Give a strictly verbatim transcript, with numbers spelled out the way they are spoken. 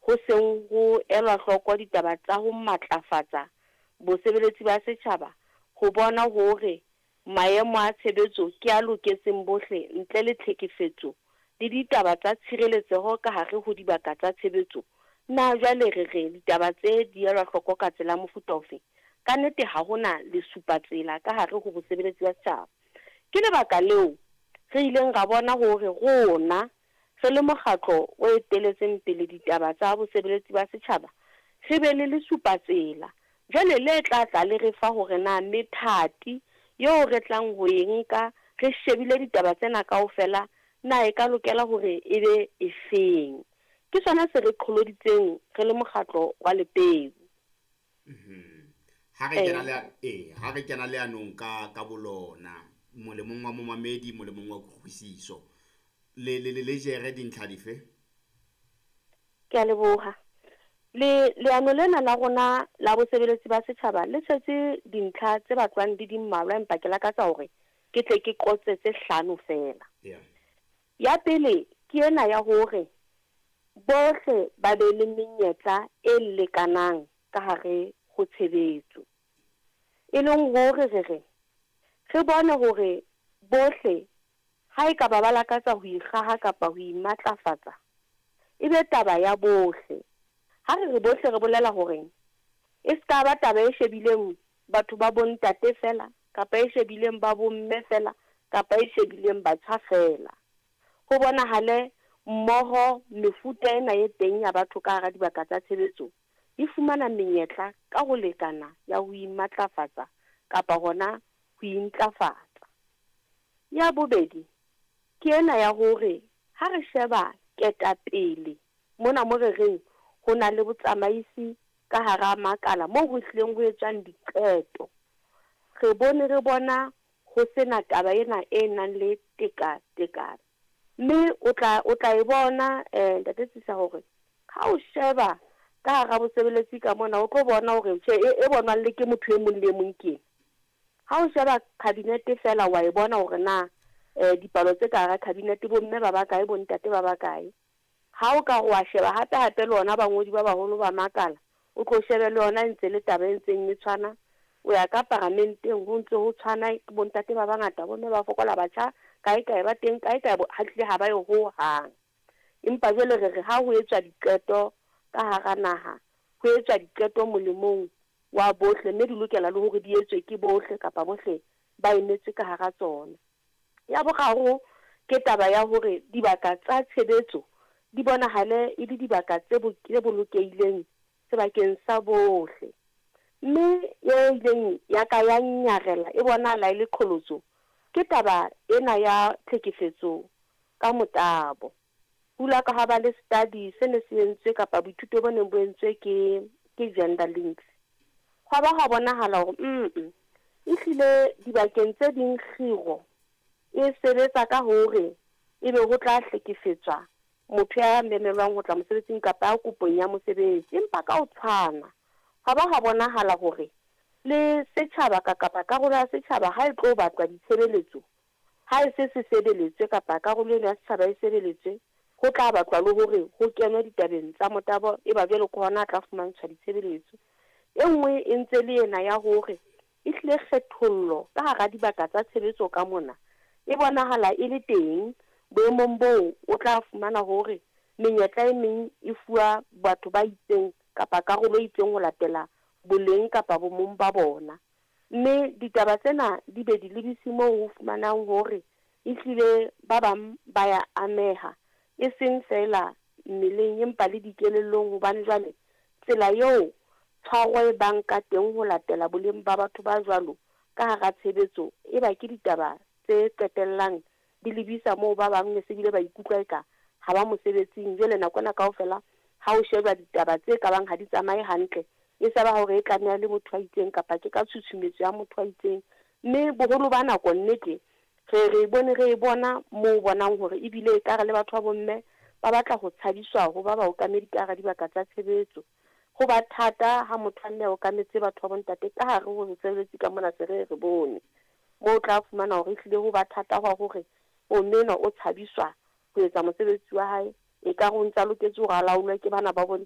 ho seng ho elwa hloko ditaba tsa ho matlafatsa bosebeletsi ba setjhaba, ho bona hore maemo a tshebetso ke a loketseng bohle ntle le tlhekefetso le ditaba tsa tshireletseho ka hare ho dibaka tsa tshebetso, na jwale re re ditaba tse di elwa hloko ka tsela ya mofuta ofe? Ka nnete ha hona lesupatsela ka hare ho bosebeletsi ba setjhaba. Ke lebaka leo re ileng ra bona hore rona re le mokgatlo o eteletseng pele ditaba tsa bosebeletsi ba setjhaba, re be le lesupatsela jwale le tla tla le re fa hore na methati eo re tlang ho e nka re shebile ditaba tsena kaofela na e ka lokela hore e be efeng. Ke sona se re qholoditseng re le mokgatlo wa Lepeu. Ha re kena le eh ha re kena leanong ka ka bolona, molemong wa momamedi, molemong wa kutlwisiso, le le le jere dintlha dife? Ke a leboha. Le leano lena la rona la bosebeletsi ba setjhaba le tshetse dintlha tse batlwang di di mmalwa, empa ke lakatsa hore ke tle ke qotse tse hlano feela. Yeah. Ya pele ke ena ya hore bohle ba be le menyetla e lekanang ka hare ho tshebetso. E leng hore re re re bone hore bohle ha e ka ba ba lakatsa ho ikgaha kapa ho imatlafatsa, e be taba ya bohle. Ha re re bohle re bolela hore e ska ba taba e shebileng batho ba bontate fela, kapa e shebileng ba bomme fela, kapa e shebileng batjha fela. Ho bonahale mmoho mefuta ena e teng ya batho ka hara dibaka tsa tshebetso e fumana menyetla ka ho lekana ya ho imatlafatsa kapa hona ho intlafatsa. Ya bobedi ke ena ya hore ha re sheba ketapele mona mo re reng ho na le botsamaisi ka hara makala moo ho hlileng ho etswang diqeto, re bone re bona ho sena taba ena e nang le tekatekano. Mme o tla o tla e bona eh ntate Tsisa hore ha o sheba ka hara bosebeletsi ka mona o tlo bona hore tjhe e, e bonwang le ke motho e mong le e mong ke eng. Ha o sheba cabinet fela wa e bona hore na eh dipalo tse ka hara cabinet bomme ba bakae, bontate ba bakae. Ha o ka wa sheba hape hape le ona bangodi ba baholo ba makala, o tlo shebe le yona e ntse le taba e ntseng e tshwana. O ya ka paramenteng ho ntse ho tshwana, bontate ba bangata, bomme ba fokola, batjha kae kae ba teng, kae kae ha hlile ha ba yo ho hang. Empa jwale re re ha ho etswa diqeto ka hara naha, ho etswa diqeto molemong wa bohle, mme di lokela le hore di etswe ke bohle kapa bohle ba emetswe ka hara tsona. Ya boraro ke taba ya hore dibaka tsa tshebetso di bonahale e le dibaka tse tse bolokehileng sebakeng sa bohle. Mme e ileng ya ka ya nyarela e bonahala e le qholotso ke taba ena ya tlhekefetso ka motabo. Hula ka ha ba le study se ne se entswe kapa boithuto bo neng bo entswe ke ke Gender Links. Hwa ba ha bonahala hore mm ehlile dibakeng tse ding kgiro e sebetsa ka hore ebe ho tla hlekefetswa motho ya memelwang ho tla mosebetsing kapa ya kopong ya mosebetsi. Empa ka ho tshwana hwa ba ha bonahala hore le setjhaba ka kapa karolo ya setjhaba ha e tlo batlwa ditshebeletso, ha e se se sebeletswe kapa karolo eno ya setjhaba e sebeletswe, ho tla batlwa le hore ho kenwe ditabeng tsa motabo, e ba jwale ke hona a tla fumantshwa ditshebeletso. E nngwe e ntse le ena ya hore ehlile kgethollo ka hara dibaka tsa tshebetso ka mona e bonahala e le teng boemong boo o tla fumana hore menyetla e meng e fuwa batho ba itseng kapa karolo e itseng ho latela boleng kapa bomong ba bona. Mme ditaba tsena di be di lebise moo ho fumanang hore ehlile ba bang ba ya ameha, e seng feela mmeleng empa le dikelellong, hobane jwale tsela eo tshwaro e bang ka teng ho latela boleng ba batho ba jwalo ka hara tshebetso e ba ke ditaba tse qetellang di lebisa moo ba bang ne se bile ba ikutlwa eka ha ba mosebetsing. Jwale nako ena kaofela ha o sheba ditaba tse ka bang ha di tsamaye hantle, e sa ba hore e tlameha le motho a itseng kapa ke ka tshutshumetso ya motho a itseng. Mme boholo ba nako nnete re re bone re e bona moo bonang hore ebile ekare le batho ba bomme ba batla ho tshabiswa ho ba baokamedi ka hara dibaka tsa tshebetso. Ho ba thata ha motho a mme a okametse batho ba bontate ka hare ho mosebetsi ka mona, se re re bone moo o tla fumana hore ehlile ho ba thata hwa hore o mme enwa o tshabiswa ho etsa mosebetsi wa hae, ekare o ntsa loketse hore a laolwe ke bana ba bontate.